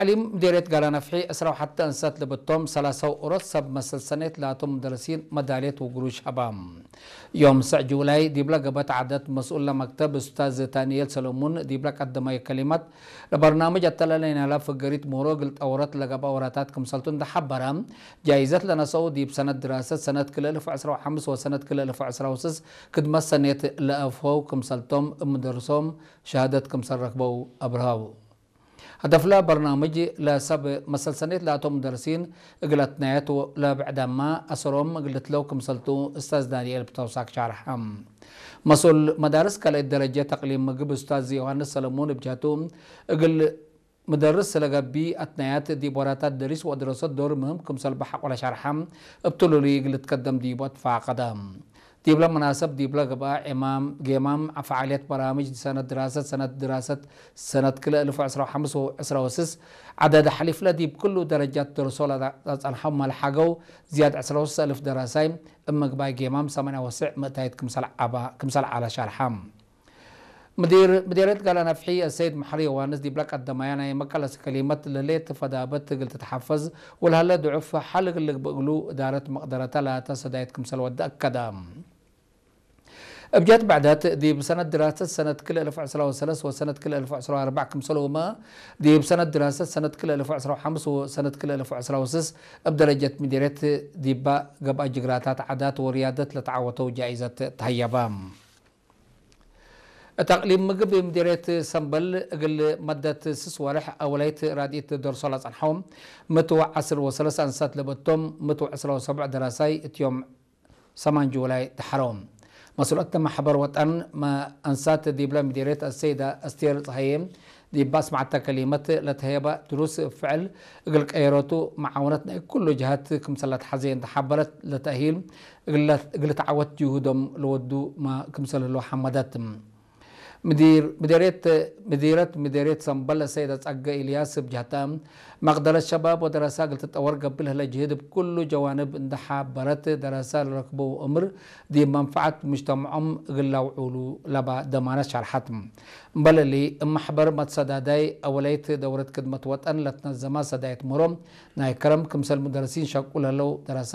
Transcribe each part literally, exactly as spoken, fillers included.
ተዕሊም ምዴርየት ጋላ ነፍሒ ዕስራ ወሐተ እንሰት ለብቶም ሰላሰው ኦሮት ሰብ መሰል ሰኔት ላቶም ሙደርሲን መዳልየት ወግሩሽ ሀባ። ዮም ሰዕ ጁላይ ዲብለ ገበት ዐደት መስኡል ለመክተብ እስታዝ ታንኤል ሰለሙን ዲብለ ቀደመዩ ከሊመት፣ ለበርናምጅ አተላሌ ናላ ፍገሪት ምህሮ እግል ጠወረት ለገብአ ወራታት ክምሰልቱ እንደ ሐበረ፣ ጃይዘት ለነሰኡ ዲብ ሰነት ድራሰት ሰነት ክልኤ እልፍ ዕስራ ወሐምስ ወሰነት ክልኤ እልፍ ዕስራ ወስስ ክድመት ሰኔት ለአፍሆው ክምሰልቶም እብ ምደርሶም ሸሃደት ክምሰል ረክበው አብርሀው። ሀደፍለ በርናምጅ ለሰብ መሰል ሰኔት ላቶም ሙደርሲን እግል አትናየት ለብዕዳማ አሰሮም እግል ልትለው ክምሰልቱ እስታዝ ዳንኤል ብተውሳክ ሻርሐ። መስኡል መዳርስ ካልአይት ደረጀት ተቅሊም ምግብ እስታዝ ዮሐንስ ሰለሙን እብ ጀህቱ፣ እግል ምደርስ ለገብእ አትናያት ዲብ ወራታት ደሪስ ወአድረሶት ዶር ምህም ክምሰል በሐቆ ለሻርሐ፣ እብ ትሉሉይ እግል ልትከደም ዲቡ አትፋቀደ። ዲብለ መናሰብ ዲብለ ገብአ ዔማም፣ ጌማም ፈዓልየት በራምጅ ሰነት ድራሰት ሰነት ድራሰት ሰነት ክልኤ እልፍ ወዕስራ ወሐምስ ወዕስራ ወስስ ዐደድ ሐሊፍለ ዲብ ክሉ ደረጃት ደርሶ ለጸንሐው መልሐገው ዝያድ ዕስራ ወስስ እልፍ ደራሳይ እብ ምግባይ ጌማም ሰማንያ ወስዕ ምእታይት ክምሰል ዐባ፣ ክምሰል ዐለ ሻርሐ። ምዲር ምዴርየት ጋላ ነፍሒ አሰይድ መሐሪ ዮዋንስ ዲብለ ቀደማያ ናይ መቀለስ ከሊመት፣ ለህሌት ፈዳበት እግል ትትሐፈዝ ወለሀለ ድዑፍ ሐል እግል ልግብእ እግሉ እዳረት መቅደረተ ላተ ሰዳይት ክምሰል ወደ አከደ። እብ ጀህት ብዕደት፣ ዲብ ሰነት ድራሰት ሰነት ክልኤ እልፍ ዕስራ ወሰለስ ወሰነት ክልኤ እልፍ ዕስራ ወአርበዕ ክምሰልሁመ፣ ዲብ ሰነት ድራሰት ሰነት ክልኤ እልፍ ዕስራ ወሐምስ ወሰነት ክልኤ እልፍ ዕስራ ወስስ እብ ደረጀት ምዴርየት ዲባ ገብአ ጅግራታት ዓዳት ወርያደት ለተዓወተው ጃኢዘት ተሀየበ። እት አቅሊም ምግብ ምዴርየት ሰምበል እግል መደት ስስ ወርሕ አወላይት ራድኢት ደርሶ ለጸንሐው ምእት ወዐስር ወሰለስ አንሳት ለበቶም ምእት ወዕስራ ወሰብዕ ደራሳይ እት ዮም ሰማን ጁላይ ደሐረው። መስኡለት መሕበር ወጠን መ-፣ አንሳት ዲብለ ምዴርየት አሰይደ አስቴር ጸሃዬ ዲብ አስመዐተ ከሊመት፣ ለተህየበ ድሩስ እብ ፍዕል እግል ቀየረቱ መዓውነት ናይ ኩሉ ጀሃት ክምሰል ለትሐዜ እንዴ ሐበረት፣ ለተእሂል እግል፣ እግል ተዐወት ጅሁዶም ለወዱ መ-፣ ክምሰል ህለው ሐመደት። ምዲር፣ ምዴርየት፣ ምዲረት ምዴርየት ሰምበል ሰይደ ጸገ ኢልያስ እብ ጀህተ፣ መቅደረት ሸባብ ወደረሳ እግል ትጠወር ገብእ ለህለ ጅህድ እብ ኩሉ ጀዋንብ እንዴ ሐበረት፣ ደረሳ ለረክበው እምር ዲብ መንፈዐት ሙጅተመዖም እግል ለአውዑሉ ለባ ደማነት ሸርሐት። እምበል እሊ፣ እብ መሕበር መትሰዳዳይ አወላይት ደውረት ክድመት ወጠን ለትነዘመ ሰዳይት ምህሮ ናይ ከረም ክምሰል ሙደርሲን ሸቁ ለህለው ደረሳ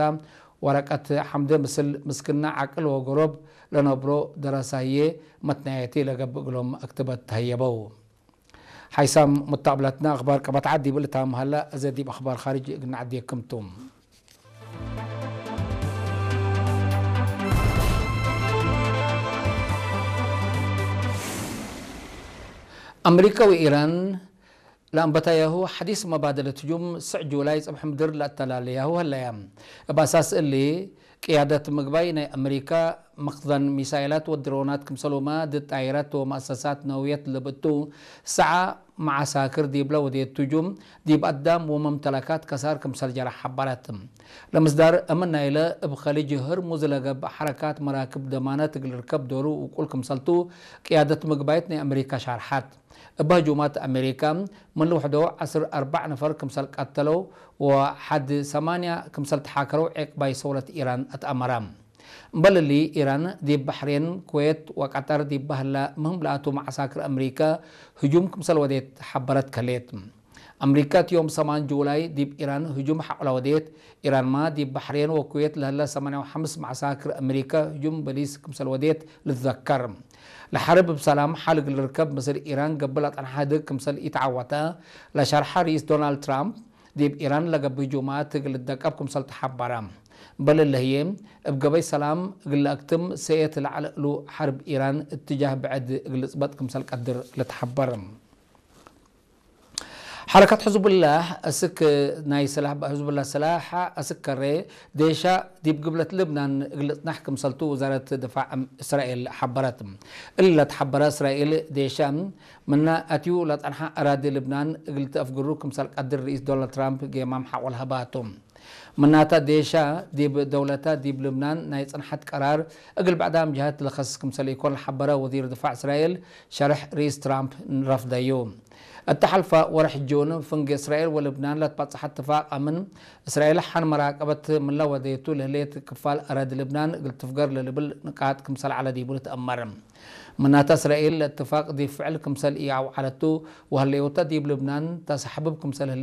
ወረቀት ሐምደ ምስል ምስክነ ዐቅል ወገሮብ ለነብሮ ደረሳዬ መትናየቲ ለገብእ እግሎም አክትበት ተህየበው። ሓይሳም ሙታብለትና አኽባር ቀበት ዐድ ዲብ ልታም ሀለ፣ አዜ ዲብ አኽባር ካርጅ እግል ነዐዴክም ቱ። አምሪከ ወኢራን ለአንበታያሁ ሐዲስ መባደለት ህጁም ስዕ ጁላይ ጽብሕ ምድር ለአተላለያሁ ሀለያ። እብ አሳስ እሊ፣ ቅያደት ምግባይ ናይ አምሪካ መክዘን ሚሳይላት ወድሮናት ክምሰልሁመ ድድ ጣይራት ወመአሰሳት ነውየት ለብእቱ ሰዓ መዓሳክር ዲብለ ወዴቱ ህጁም ዲብ አዳም ወመምተለካት ከሳር ክምሰል ጀረ ሐበረት። ለምስዳር አምን ናይለ እብ ከሊጅ ህርሙዝ ለገብእ ሐረካት መራክብ ደማነት እግል ርከብ ዶሩ ውቁል ክምሰልቱ ቅያደት ምግባይት ናይ አምሪካ ሻርሐት። እብ ህጁማት አሜሪካ፣ ምን ልውሕዶ ዐስር አርበዕ ነፈር ክምሰል ቀተለው ወሐድ ሰማንያ ክምሰል ተሓከረው ዔቅባይ ሰውረት ኢራን አትአመረ። እምበል እሊ፣ ኢራን ዲብ በሕሬን፣ ኩዌት ወቀጠር ዲብ በህለ ምህም ለአቱ መዓሳክር አሜሪካ ህጁም ክምሰል ወዴት ሐበረት ከሌት። አምሪካ እት ዮም ሰማን ጁላይ ዲብ ኢራን ህጁም ሐቆለ ወዴት። ኢራንማ ዲብ በሕሬን ወኩዌት ለህለ ሰማንያ ወሐምስ መዓሳክር አምሪካ ህጁም በሊስ ክምሰል ወዴት ልትዘከር። ለሐርብ እብ ሰላም ሐል እግል ልርከብ ምስል ኢራን ገብእ ለጸንሐ ህድግ ክምሰል ኢተዐወተ ለሸርሐ ርኢስ ዶናልድ ትራምፕ፣ ዲብ ኢራን ለገብእ ህጁማት እግል ልደቀብ ክምሰል ተሐበረ። በል እለ ህዬ፣ እብ ገበይ ሰላም እግል ለአክትም ሰኤት ለዐለ እሉ ሐርብ ኢራን እትጃህ ብዕድ እግል ልጽበጥ ክምሰል ቀድር ልትሐበር። ሐረከት ሕዝቡላህ አስክ ናይ ስላሕ፣ ሕዝቡላህ ስላሕ አስክ ከሬ ዴሻ ዲብ ግብለት ልብናን እግል ልጽናሕ ክምሰልቱ ውዛረት ድፋዕ እስራኤል ሐበረት። እሊ ለትሐበረ እስራኤል ዴሻ ምነ አትዩ ለጸንሐ አራዲ ልብናን እግል ትአፍግሩ ክምሰል ቀድር ርኢስ ዶናልድ ትራምፕ ጌማም ሐቆ ለሀባቱ። ምናተ ዴሻ ዲብ ደውለተ ዲብ ልብናን ናይ ጽንሐት ቀራር እግል ብዕዳም ጀሀት ለከስስ ክምሰል ኢኮን ለሐበረ ወዚር ድፋዕ እስራኤል ሸርሕ ርኢስ ትራምፕ ረፍደዩ። እተ ሐልፈ ወርሕ ጁን ፍንጌ እስራኤል ወልብናን ለትበጽሐ እትፋቅ አምን እስራኤል ሐን መራቀበት ምንለ ወዴቱ ለህሌት ክፋል አራዲ ልብናን እግል ትፍገር ለልብል ንቃጥ ክምሰል ዐለ ዲቡ ልትአመር። ምናተ እስራኤል ለእትፋቅ ዲብ ፍዕል ክምሰል ኢአውዐለቱ ወህሌወተ ዲብ ልብናን ተሳሕብብ ክምሰል ህሌት